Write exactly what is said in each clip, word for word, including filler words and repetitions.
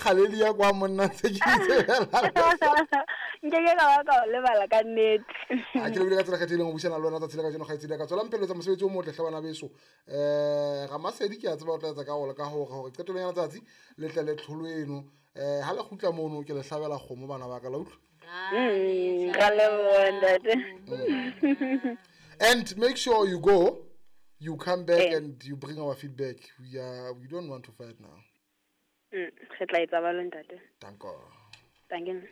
kgaledi ya kwa monna ntse ke itsebela. Nke ke ka ba ka o lebala ka nnete. A ke lebile ka tsela kgethehileng ho buisana le wena tsatsi la kajeno kgaitsedi ya ka. Tswelang pele ho etsa mosebetsi o motle hle bana beso. Eh Ramasedi ke a tseba o tla etsa ka go ka hore hore qetellong ya letsatsi le tle le tlholo eno. Eh ha le kgutla mono ke le hlabela kgomo bana ba ka la utlwa. Mm, ra leboha ntate. And make sure you go, you come back Eh. and you bring our feedback. We are we don't want to fight now. Mm, re tla etsa jwalo ntate. Danko. Danke.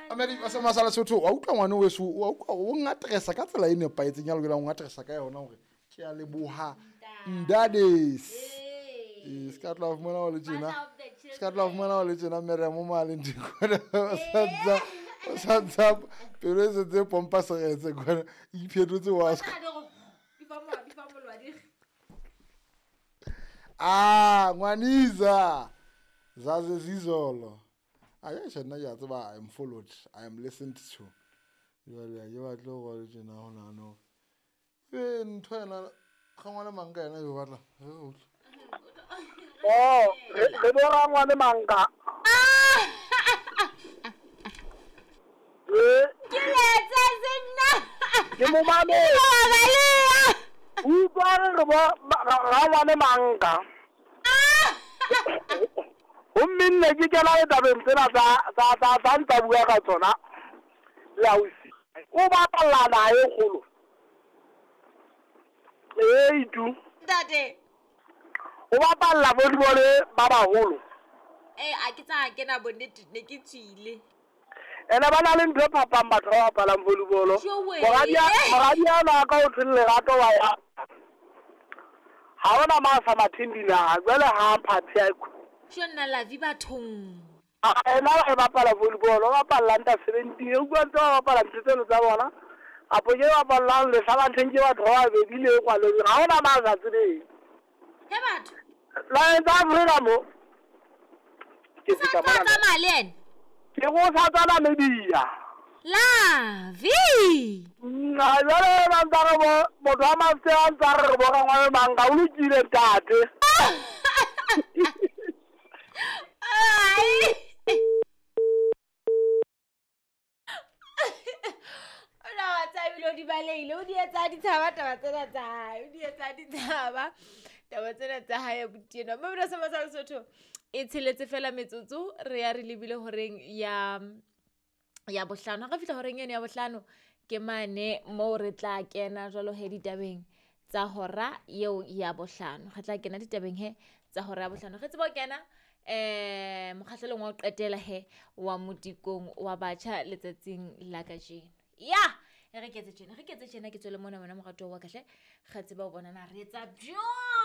Amerika sa masala Sotho wa utlwa ngwane weso wa utlwa o ngatresa ka tsela e nepahetseng ya lokelang o ngatresa ka yona hore ke a leboha ndades. Eh se ka tla fumana o le tjena. Se ka tla fumana o le tjena mere mo maleng dikona o santsa o santsa pelo e setse pompa seretse kwana iphetotse wa ska. Ah ngwaniza zaze zizolo. A nna ke a tseba I am followed, I am listened to. Jwale ha ke batle ho le tjena ho nahana hore ebe ntho ena ga ngwana mang ka yena e batla re utlwe. Oh, re bo rangwane manka. Eh, Ke letsa senna. Ke mo mametse. Utlwa re re bo rangwane manka. Gomme nne ke kena ditabeng tsena tsa tsa tsa tsa ntsa bua ka tsona le ausi. O bapalla naha e kgolo. Ee, itu. Ntate. O bapalla volleyball ba baholo. Eh, a ke tsa kena bonnete ne ke tswile. Ene ba na le ntho e phapang batho ba bapalang volleyball. Jowe. Moradi a ka o thweng lerato wa ya. Ha hona ma sa matheng dinaha, jwale ha mphathi a Tjho nna la vi bathong. A ena e bapala volleyball, o bapalla under seventeen, e utlwa ntse ba bapala ntho tseno tsa bona. Apo ke bapallang lehlabatheng ke batho ba babedi le kwaleng. Ha hona ma sa tsebeng. He batho. Naheng tsa Afrika mo. Ke Sa fihla tla mona. tsamaya le ena? Ke go sa tswa Namibia. La vi. Nna jwale ba ntsa re bo motho wa mafse a ntsa re re bo rangwane manka o lokile ntate. Ai. Ona wa tsabile o di balehile, o di etsa ditshaba taba tsena tsa hae, o di etsa ditshaba taba tsena tsa hae abuti enwa. Mme bra sa masala Sotho e tsheletse fela metsotso re ya re lebile horeng ya ya bohlano. Ha re fihla horeng eno ya bohlano ke mane moo re tla kena jwalo he ditabeng tsa hora eo ya bohlano. Re tla kena ditabeng he tsa hora ya bohlano. Re tsebe ho kena eh mokgahlelong wa ho qetela he wa modikong wa batjha letsatsing la kajeno. Ya, e re ke etse tjena, re ke etse tjena ke tswele mona wena moratuwa wa ka hle. Re tsebe ho bona na re etsa jwang.